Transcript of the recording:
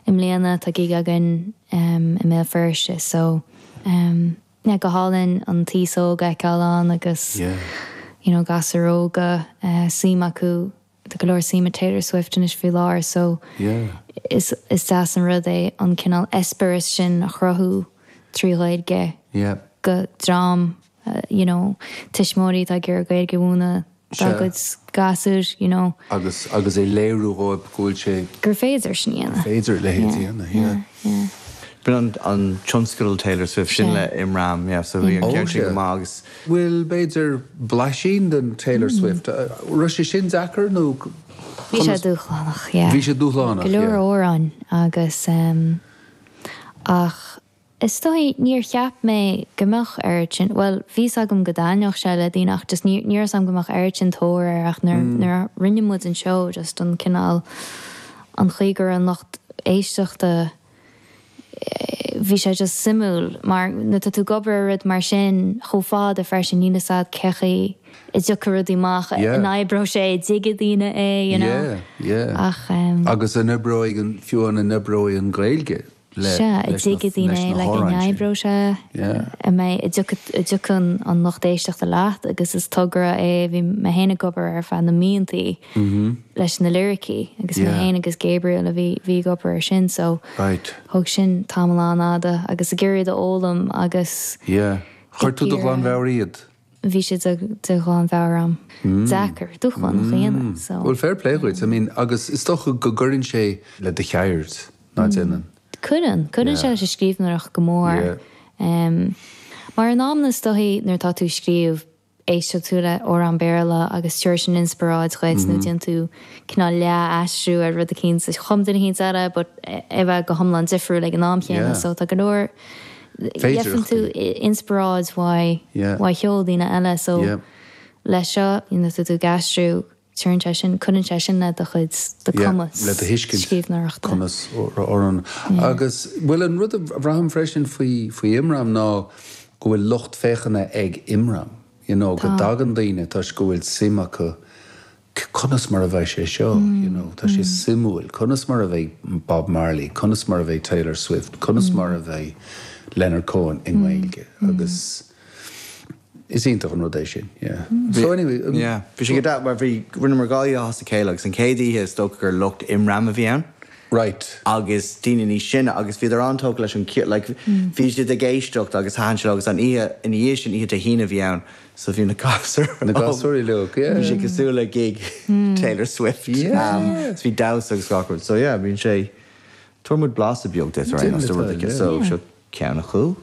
I mbliana tá gig againn i mBéal Feirste so yeah go hálainn an t-aos óg a fheiceáil ann agus you know gasúir óga suim acu, tá go leor suim i Taylor Swift anois faoi láthair so is is deas an rud é an cineál eispéireas sin a chruthú trí Ghaeilge go dream you know tuismitheoirí atá ag iarraidh Gaeilge a mhúineadh dá gcuid gasúr, you know. Agus, agus é léiriú dhóibh go bhfuil sé. Gur féidir sin a dhéanamh. Gur féidir a leithéid a dhéanamh, yeah. Yeah, yeah. B'in an, an tionscadal Taylor Swift, sin le Imram, yeah, so bhí an ceann sin go maith agus. Bhfuil, b'fhéidir, blaisín den Taylor Swift, raibh sé sin deacair nó Bhí sé dúshlánach, yeah. Bhí sé dúshlánach, yeah. Go leor amhráin agus, ach Is dóigh, níor cheap mé go mbeadh oiread sin, bhuel, bhí 'fhios agam go dtaitneodh sé le daoine ach just ní, ní raibh 'fhios agam go mbeadh oiread sin tóir air ach nuair, nuair a rinne muid an seó just an cineál, an chaoi go raibh an lucht éisteachta, bhí sé just suimiúil mar nuair atá tú ag obair ar rud mar sin chomh fada freisin níl 'fhios a'd cé chaoi a dtiocfaidh rudaí amach, an oibreoidh sé, an dtuigfidh daoine é, you know. Yeah, yeah. Ach ehm. Agus an oibreoidh an, fiú an oibreoidh an Ghaeilge? Sea, an dtuigfidh daoine é, like, an oibreoidh sé, an mbeidh, an dtiocfaidh an lucht éisteachta leat agus is togra é, bhí mé féin ag obair ar feadh na míontaí leis na liricí agus mé féin agus Gabriel a bhí, bhí ag obair ar sin so thóg sin tamall an-fhada agus ag iarraidh iad a fhoghlaim agus Yeah. Chuir tú de ghlanmheabhair iad? Bhí sé de ghlanmheabhair agam. Deacair, dúshlánach a dhéanamh so. Bhuel, fair play dhuit. I mean, agus is dócha go gcuireann sé le do cheird, ná déanann? Cuireann. Cuireann sé leis an scríbhneoireacht go mór. Mar in amanna is dóichí nuair atá tú ag scríobh, éisteann tú le amhrán Béarla agus tabharfaidh sin inspioráid dhuit nó déanann tú cineál leath-aistriú ar rud eicínt a chum duine eicínt eile but é bheith go hiomlán difriúil ag an am chéanna so tá go leor Gheibheann tú inspioráid uaidh cheol daoine eile so leis seo nuair atá tú ag aistriú tugann sé sin, cuireann sé sin le do chuid, do cumas le do thuiscint scríbhneoireachta. Cumas amhrán. Agus bhuel an rud a bhraithim freisin faoi faoi Imram ná go bhfuil lucht féachana ag Imram, you know, go dtagann daoine toisc go bhfuil suim acu Conas mar a bheidh sé seo, you know, tá sé suimiúil, conas mar a bheidh Bob Marley, conas mar a bheidh Taylor Swift, conas mar a bheidh Leonard Cohen i nGaeilge agus is iontach an rud é sin, yeah. So anyway. Yeah, bhí sé go deas mar bhí, rinneamar dhá oíche as a chéile agus an chéad oíche is dócha gur lucht Imram a bhí ann. Right. Agus daoine níos sine agus bhíodar an-tógtha leis an cheol, like bhí siad ag éisteacht agus thaitin sé leo agus an oíche ina dhiaidh sin, oíche Dé hAoine a bhí ann, So bhí na gasúir Na gasúir uilig, yeah. Bhí sé cosúil le gig Taylor Swift. Yeah. So bhí damhsa agus gach rud. So yeah, bíonn sé, tabharfaidh muid blaiseadh beag duit ar aon nós de rud éicint. So seo ceann acu.